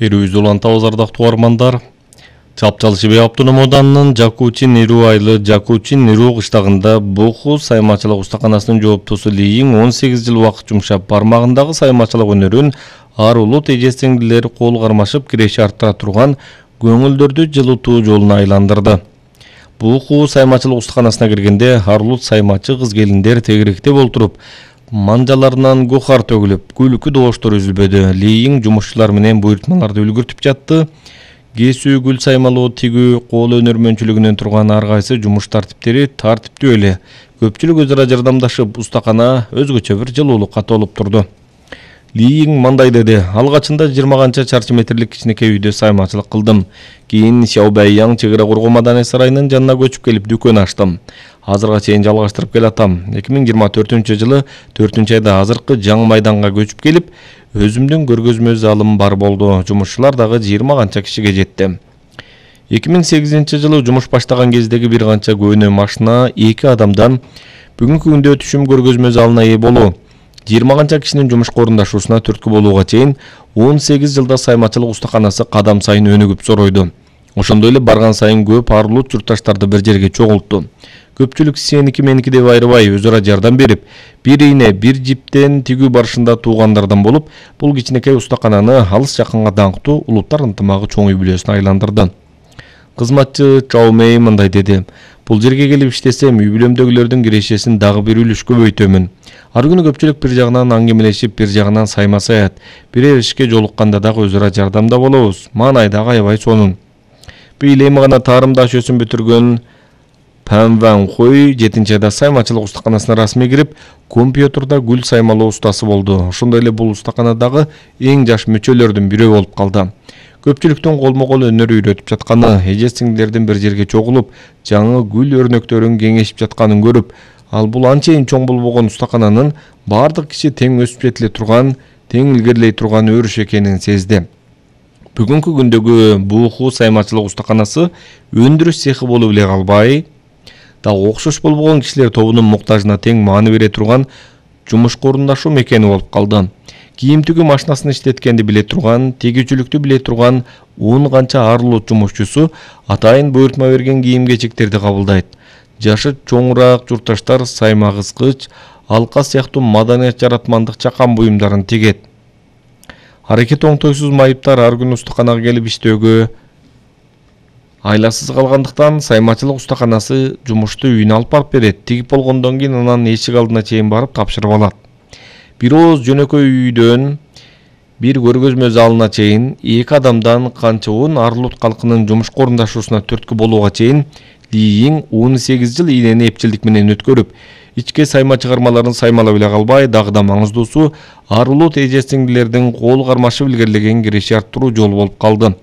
Берүүбүздү улантабыз ардактуу угармандар. Чапчал Шибей автономдунун Жакучин-Ниру айылы Жакучин-Ниру кыштагында Буху саймачылык устаканасынын жооптусу Лийин 18 жыл убакыт жумшап, бармагындагы саймачылык өнөрүн ар улут эже-сиңдилери кол кармашып киреши арттыра турган көңүлдөрдү жылытуу жолуна айландырды. Буху саймачылык устаканасына киргенде ар улут саймачы кыз-келиндер тегеректеп олтуруп, манжаларынан гухар төгүлүп, күлкү добуштор үзүлбөдү. Лийин жумушчулар менен буйртмаларды үлгүртүп жатты. Кесүү, гүл саймалоо, тигүү, кол өнөрмөнчүлүгүнөн турган ар кайсы жумуш тартиптери тартиптүү эле. Көпчүлүк өз ара жардамдашып, устакана өзгөчө бир жылуулукка толуп турду. Лийин мындай деди: алгачында 20 канча чарчы метрлик кичинекей үйдө саймачылык кылдым. Кийин Сяобэйяң чек ара коргоо маданий сарайынын жанына көчүп келип дүкөн ачтым. Азырга чейин жалгаштырып келатам. 2024-жылы 4-айда азыркы жаңы майданга көчүп келип, өзүмдүн көргөзмө залым бар болду. Жумушчулар дагы 20 канча кишиге жетти. 2008-жылы жумуш баштаган кездеги бир канча көөнө машина 2 адамдан бүгүнкү күндө түшүм көргөзмө залына ээ болуу, 20 канча кишинин жумушка орундашуусуна түрткү болууга чейин 18 жылда саймачылык устаканасы кадам сайын өнүгүп соройду. Ошондой эле барган сайын көп ар улут журтташтарды бир жерге чогултту. Көпчүлүк сеники меники деп айрыбай өз ара жардам берип, бир ийне, бир жиптен тигүү барышында туугандардан болуп, бул кичинекей устакананы алыс жакынга даңктуу улуттар ынтымагы чоң үй бүлөсүнө айландырды. Кызматчы Чаумей мындай деди: бул жерге келип иштесем, үй бүлөмдөгүлөрдүн кирешесин дагы бир үлүш көбөйтөмүн. Ар күнү көпчүлүк бир жагынан аңгемелешип, бир жагынан сайма саят, бирер ишке жолукканда дагы өз ара жардамда болобуз. Маанай дагы аябай сонун. Быйыл эми гана таарымда жөсүн бүтүргөн Пан Ван Хой 7-айда саймачылык устаканасына расмий кирип, компьютерда гүл саймалоо устасы болду. Ошондой эле бул устаканадагы эң жаш мүчөлөрдүн бирөө болуп калды. Көпчүлүктүн колмо-кол өнөр үйрөтүп жатканы, эже-сиңдилердин бир жерге чогулуп, жаңы гүл өрнөктөрүн кеңешип жатканын көрүп, ал бул анчейин чоң болбогон устакананын бардык киши тең өсүп жетиле турган, тең илгерилей турган өрүш экенин сезди. Бүгүнкү күндөгү Буху саймачылык устаканасы өндүрүш цехи болуп эле калбай, дагы окшош болбогон кишилер тобунун муктажына тең маани бере турган жумушка орундашуу мекени болуп калды. Кийим тигүү машинасын иштеткенди биле турган, тигүүчүлүктү биле турган 10 канча ар улут жумушчусу атайын буйртма берген кийим-кечектерди кабылдайт. Жашы чоңураак журтташтар сайма кыскыч, алка сыяктуу маданият жаратмандык чакан буюмдарын тигет. Аракет оңтойсуз майыптар ар күнү устаканага келип иштөөгө айласыз калгандыктан саймачылык устаканасы жумушту үйүнө алып барып берет. Тигип болгондон кийин анан эшик алдына чейин барып тапшырып алат. Бир ооз жөнөкөй үйдөн бир көргөзмө залына чейин 2 адамдан канча ар улут калкынын жумушка орундашуусуна түрткү болууга чейин Лийин 18 жыл ийнени эпчилдик менен өткөрүп, ичке сайма чыгармаларын саймалап эле калбай, дагы да маңыздуусу ар улут эже-сиңдилердин кол кармашып илгерилеген киреши арттыруу жолу болуп калды.